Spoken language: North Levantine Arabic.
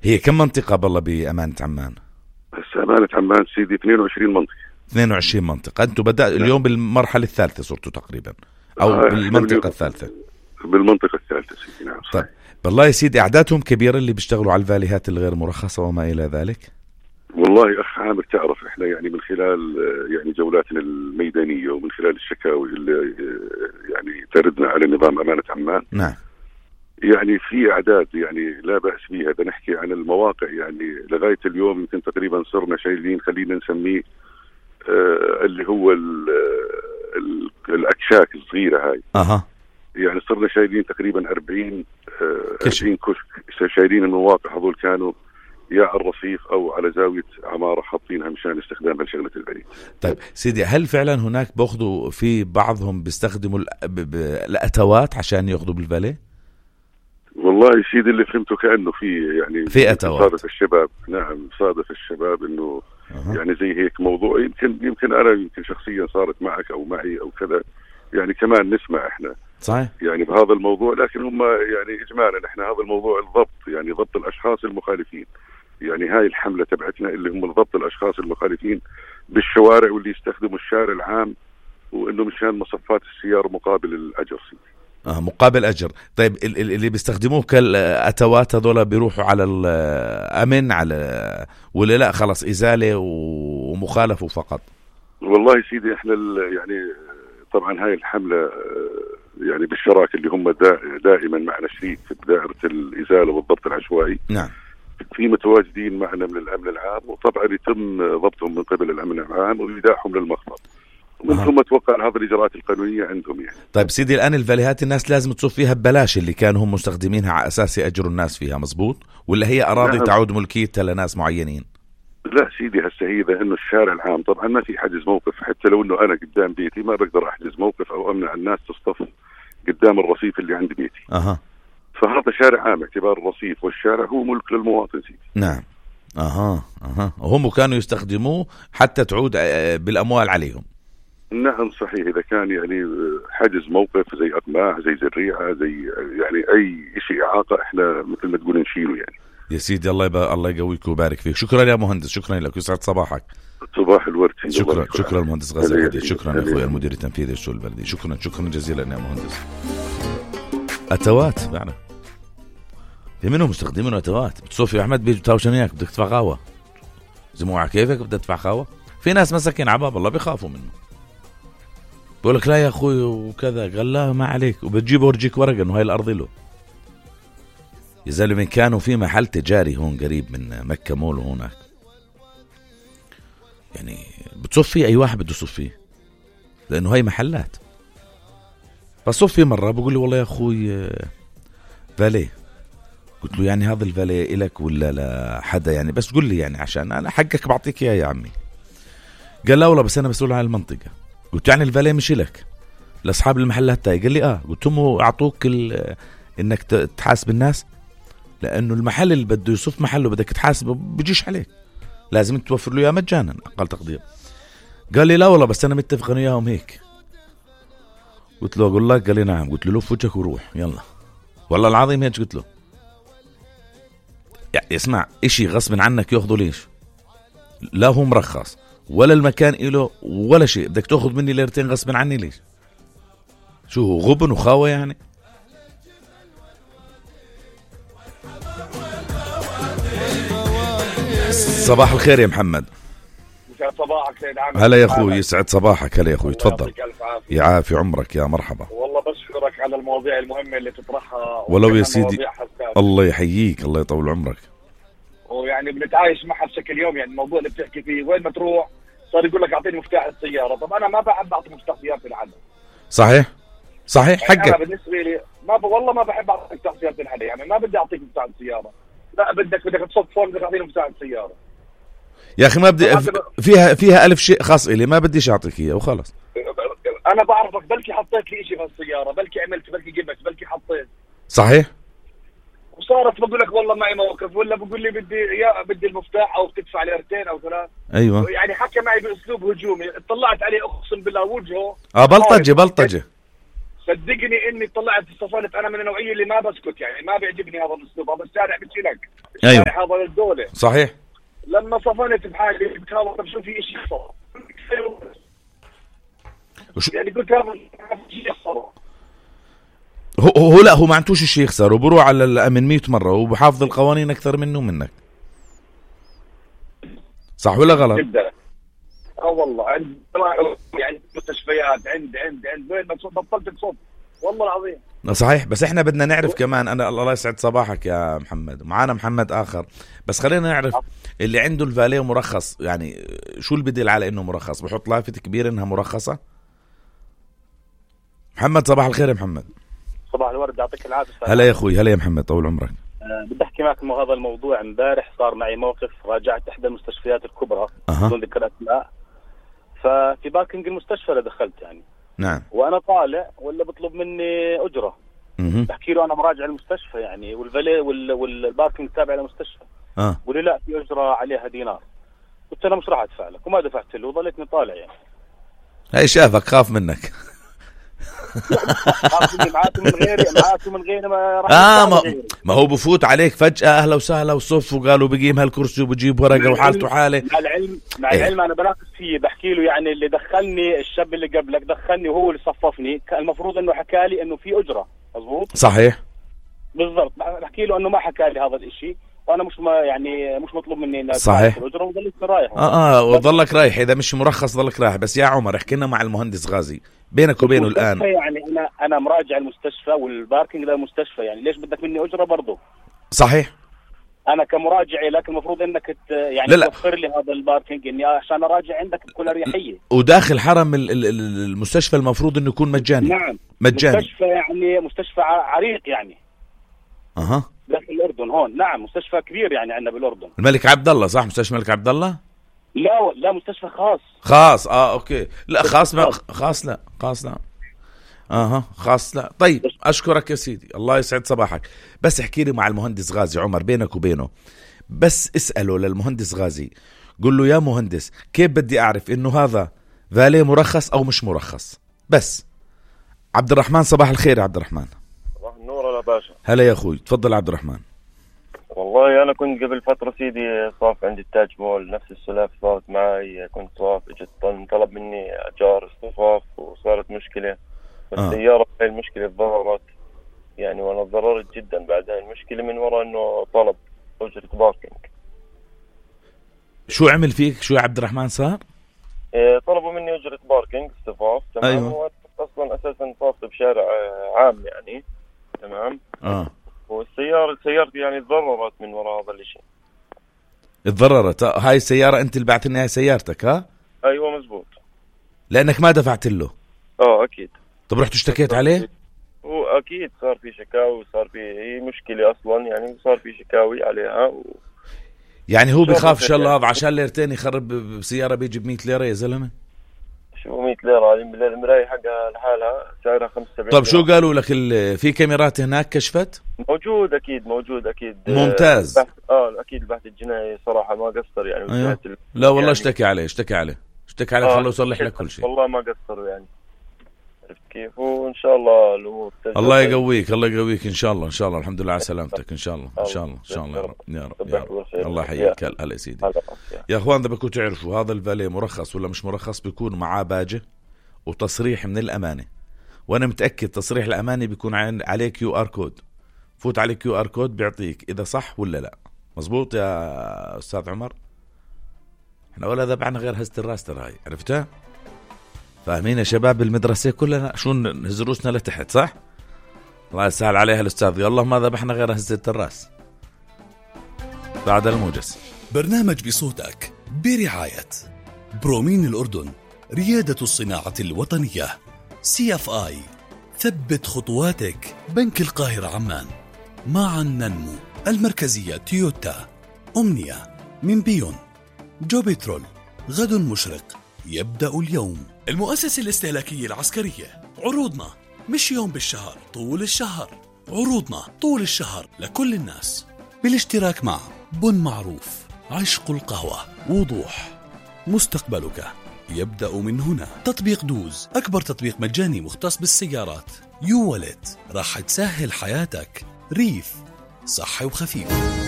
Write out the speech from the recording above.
هي كم منطقة بالله بأمانة عمان؟ هسه أمانة عمان سيدي 22 منطقة. 22 منطقة. أنتوا بدأ اليوم بالمرحلة الثالثة صرتوا تقريبا أو بالمنطقة الثالثة؟ بالمنطقة الثالثة سيدي. نعم. طيب بالله يا سيدي أعدادهم كبيرة اللي بيشتغلوا على الفاليهات الغير مرخصة وما إلى ذلك؟ والله أخ عامر تعرف إحنا يعني من خلال يعني جولاتنا الميدانية ومن خلال الشكاوي اللي يعني تردنا على نظام أمانة عمان. نعم. يعني في أعداد يعني لا بأس بها. بنحكي عن المواقع يعني لغاية اليوم يمكن تقريبا صرنا شايلين خلينا نسميه اللي هو الأكشاك الصغيرة هاي. يعني صرنا شايلين تقريبا 40 كشك شايلين المواقع هذول كانوا يا على الرصيف أو على زاوية عمارة حاطينها مشان استخدامها لشغلة البريد. طيب سيدي هل فعلا هناك بأخذوا في بعضهم بيستخدموا الأتوات عشان يأخذوا بالفالي؟ والله سيدي اللي فهمته كأنه في يعني في أتوات. صادف الشباب. نعم صادف الشباب إنه يعني زي هيك موضوع يمكن أنا يمكن شخصيا صارت معك أو معي أو كذا يعني كمان نسمع إحنا صحيح يعني بهذا الموضوع. لكن هم يعني إجمالا إحنا هذا الموضوع الضبط يعني ضبط الأشخاص المخالفين. يعني هاي الحملة تبعتنا اللي هم ضبط الأشخاص المخالفين بالشوارع واللي يستخدموا الشارع العام وإنه مشان مصفات السيارة مقابل الأجر. مقابل أجر. طيب اللي بيستخدموه كالأتوات هذولا بيروحوا على الأمن على ولا لا خلاص إزالة ومخالفة فقط؟ والله سيدي إحنا يعني طبعا هاي الحملة يعني بالشراكة اللي هم دائما معنا شريك في دائرة الإزالة والضبط العشوائي. نعم. في متواجدين معنا من الأمن العام وطبعا يتم ضبطهم من قبل الأمن العام وإيداعهم للمخبر ومن ثم توقع هذه الإجراءات القانونية عندهم يعني. طيب سيدي الآن الفاليهات الناس لازم تصف فيها ببلاش اللي كانوا هم مستخدمينها على أساس يأجروا الناس فيها مزبوط ولا هي أراضي نعم. تعود ملكيتها لناس معينين؟ لا سيدي هسه هي إنه الشارع العام طبعا ما في حجز موقف. حتى لو إنه أنا قدام بيتي ما بقدر أحجز موقف أو أمنع الناس تصطف قدام الرصيف اللي عند بيتي. فهذا شارع عام اعتبار الرصيف والشارع هو ملك للمواطن سيدي. نعم. وهم كانوا يستخدموه حتى تعود بالأموال عليهم. نعم صحيح. إذا كان يعني حجز موقف زي أقماع زي زريعة زي يعني أي شيء إعاقة إحنا مثل ما تقول نشيله يعني. يا سيدي الله يقويك ويبارك فيك. شكرا يا مهندس. شكرا لك. يسعد صباحك. صباح الورد. شكرا المهندس غازي الغدير. شكرا أخوي المدير التنفيذي للشؤون البلدية. شكرا جزيلا يا مهندس. أتوات فعلا في منهم مستخدمين أتوات. بتصوفي أحمد بيجي تاوشنياك بدك تدفع قهوة زموعة كيفك بدك تدفع قهوة. في ناس مساكين عباب الله بيخافوا منه بقول لك لا يا أخوي وكذا. قال لا ما عليك وبتجيب ورجيك ورقة إنه هاي الأرض له. يا زلمة كانوا في محل تجاري هون قريب من مكة مول هناك يعني بتصف فيه أي واحد بده يصف فيه لأنه هاي محلات. بصف فيه مرة بقول لي والله يا أخوي فالي. قلت له يعني هذا الفالي إلك ولا لا حدا يعني بس قل لي يعني عشان أنا حقك بعطيك إياه يا عمي. قال لا والله بس أنا مسؤول عن المنطقة. قلت يعني الفالي مش إلك لأصحاب المحلات تاي. قال لي قلت لهم أعطوك إنك تحاسب الناس لأنه المحل اللي بده يصف محله بدك تحاسبه بيجيش عليك لازم توفر له إياه مجانا أقل تقدير. قال لي لا والله بس أنا متفق أنا وياهم هيك. قلت له أقول لك. قال لي نعم. قلت له لف وجهك وروح يلا والله العظيم هيك قلت له يعني اسمع إشي غصب عنك يأخذوا ليش لا هو مرخص ولا المكان إله ولا شيء بدك تأخذ مني ليرتين غصب عني ليش؟ شو هو غبن وخاوة يعني؟ صباح الخير يا محمد. يسعد صباحك سيد عامر. هلا يا أخوي. يسعد صباحك. هلا يا أخوي تفضل. يعافي عمرك يا مرحبا. والله بشكرك على المواضيع المهمة اللي تطرحها ولو يا سيدي الله يحييك الله يطول عمرك. ويعني بنتعايش معها بشكل يوم يعني الموضوع اللي بتحكي فيه وين ما تروح صار يقول لك أعطيني مفتاح السيارة. طب أنا ما بحب أعطي مفتاح سيارتي لحد. صحيح يعني حقك. أنا بالنسبة لي والله ما بحب أعطي مفتاح سيارتي لحد. يعني ما بدي أعطيك مفتاح السيارة. لا بدك تصف فون بدك أعطيني مفتاح السيارة يا أخي ما بدي فيها ألف شيء خاص إلي ما بديش أعطيك إياه وخلاص. أنا بعرفك بلكي حطيت لي إشي في السيارة بلكي عملت بلكي جبت بلكي حطيت. صحيح. وصارت بقول لك والله معي موقف ولا بقول لي بدي المفتاح أو بتدفع ليرتين أو ثلاث. أيوة يعني حكى معي بأسلوب هجومي اطلعت عليه أقسم بالله وجهه بلطجة صدقني اني طلعت صفنت. انا من النوعيه اللي ما بسكت، يعني ما بيعجبني هذا الاسلوب. هذا الشارع بيشيلك، أيوه. الشارع هذا للدوله. صحيح. لما صفنت بحالي قلت هذا طب شو في شيء صار يعني، قلت هذا شيء صار. هو لا، هو ما عندوش شيء يخسر، وبروح على الأمن 100 مرة، وبحافظ القوانين أكثر منه ومنك. صح ولا غلط؟ جدا. والله عند يعني مستشفيات عند وين ما بطلت تصب والله العظيم. صحيح. بس احنا بدنا نعرف كمان، انا الله يسعد صباحك يا محمد، معانا محمد اخر، بس خلينا نعرف اللي عنده الفاليه مرخص، يعني شو اللي بدل على انه مرخص؟ بحط لافة كبيرة انها مرخصة. محمد صباح الخير يا محمد. صباح الورد، يعطيك العافية. هلا يا اخوي، هلا يا محمد، طول عمرك. بدي احكي معك انه هذا الموضوع امبارح صار معي موقف. راجعت احدى المستشفيات الكبرى بدون ذكر اسماء، ففي باركنج المستشفى دخلت يعني. نعم. وانا طالع ولا بطلب مني اجره. بحكي له انا مراجع المستشفى يعني، والفالي والباركنج تابع للمستشفى. بقول لي لا، في اجره عليها دينار. قلت انا مش راح ادفع لك، وما دفعت له وظليتني طالع يعني. هاي شافك خاف منك. معاكم من غيري ما راح. ما هو بفوت عليك فجأة أهلا وسهلا وصف، وقالوا بقيم هالكرسي وبجيب ورقة وحالته حالة. مع العلم أنا بناقش فيه، بحكي له يعني اللي دخلني الشاب اللي قبلك دخلني وهو اللي صففني، المفروض إنه حكى لي إنه في أجرة. مظبوط. صحيح. بالضبط. بحكي له إنه ما حكى لي هذا الإشي، وأنا مش مطلوب مني إن صحيح. الأجرة، وضلت رايح. وضلك رايح. إذا مش مرخص ضلك رايح. بس يا عمر احكي لنا مع المهندس غازي بينك وبينه الآن. يعني أنا مراجع المستشفى والباركينج ده المستشفى، يعني ليش بدك مني أجرة برضو؟ صحيح. أنا كمراجع لك المفروض إنك يعني توفر لي هذا الباركينج إني عشان أراجع عندك بكل أريحية. وداخل حرم المستشفى المفروض إنه يكون مجاني. نعم. مجاني. مستشفى يعني مستشفى عريق يعني. داخل الأردن هون. نعم مستشفى كبير يعني عندنا بالأردن. الملك عبد الله، صح؟ مستشفى الملك عبد الله؟ لا مستشفى خاص. اوكي. لا خاص لا. خاص لا. طيب اشكرك يا سيدي، الله يسعد صباحك. بس احكي لي مع المهندس غازي عمر بينك وبينه، بس اسأله للمهندس غازي، قل له يا مهندس كيف بدي اعرف انه هذا فالي مرخص او مش مرخص؟ بس عبد الرحمن صباح الخير يا عبد الرحمن. صباح النور يا باشا. هلا يا اخوي، تفضل عبد الرحمن. والله أنا كنت قبل فترة سيدي صاف عندي التاج مول، نفس السلاف صارت معي. كنت صاف، اجت طلب مني أجار اصطفاف وصارت مشكلة. السيارة هاي المشكلة تضررت يعني، وأنا تضررت جدا بعد هاي المشكلة من وراء إنه طلب أجرة باركينج. شو عمل فيك؟ شو يا عبد الرحمن صار؟ طلبوا مني أجرة باركينج اصطفاف. تمام. أيوة. أصلا أساسا صاف بشارع عام يعني. تمام. سيارتي يعني تضررت من وراء هذا الشيء. تضررت؟ هاي السيارة انت اللي بعت لنا هاي سيارتك؟ ايوه مزبوط. لانك ما دفعت له؟ اكيد. طب رحت اشتكيت عليه؟ هو اكيد صار في شكاوي، صار في مشكلة اصلا يعني، صار في شكاوي عليها يعني هو بخاف ان شاء الله هذا عشان ليرتين يخرب بسيارة بيجي ب100 ليرة يا زلمة. شو 100 ليرة؟ المراية حقها لحالها سعرها 75. طب شو قالوا لك؟ في كاميرات هناك كشفت؟ موجود اكيد. ممتاز. اكيد البحث الجنائي صراحة ما قصر يعني. أيوه. لا والله يعني اشتكي عليه خلوا يصلح لك كل شيء. والله ما قصروا يعني. عرفت كيف؟ وان شاء الله الامور الله يقويك ان شاء الله الحمد لله على سلامتك. ان شاء الله يا رب. الله يحييك. هلا يا سيدي. يا اخوان اذا بدكم تعرفوا هذا الفالي مرخص ولا مش مرخص، بيكون معاه باجة وتصريح من الامانة، وانا متأكد تصريح الامانة بيكون عليه QR كود. فوت عليه QR كود بيعطيك اذا صح ولا لا. مزبوط يا استاذ عمر؟ احنا ولا ذبعنا غير هزة الراس ترى هاي، عرفتها؟ فاهمين يا شباب المدرسة كلنا شو نهز روسنا لتحت، صح؟ الله يسهل عليها الأستاذ. يلا ما ذبحنا غير هزة الراس. بعد الموجز برنامج بصوتك برعاية برومين الأردن، ريادة الصناعة الوطنية. CFI، ثبت خطواتك. بنك القاهرة عمان، معا ننمو. المركزية تويوتا. أمنية من بيون. جوبيترول، غد مشرق يبدأ اليوم. المؤسسة الاستهلاكية العسكرية، عروضنا مش يوم بالشهر، طول الشهر. عروضنا طول الشهر لكل الناس، بالاشتراك مع بن معروف، عشق القهوة، وضوح، مستقبلك، يبدأ من هنا. تطبيق دوز أكبر تطبيق مجاني مختص بالسيارات. يو والت راح تسهل حياتك. ريف صحي وخفيف.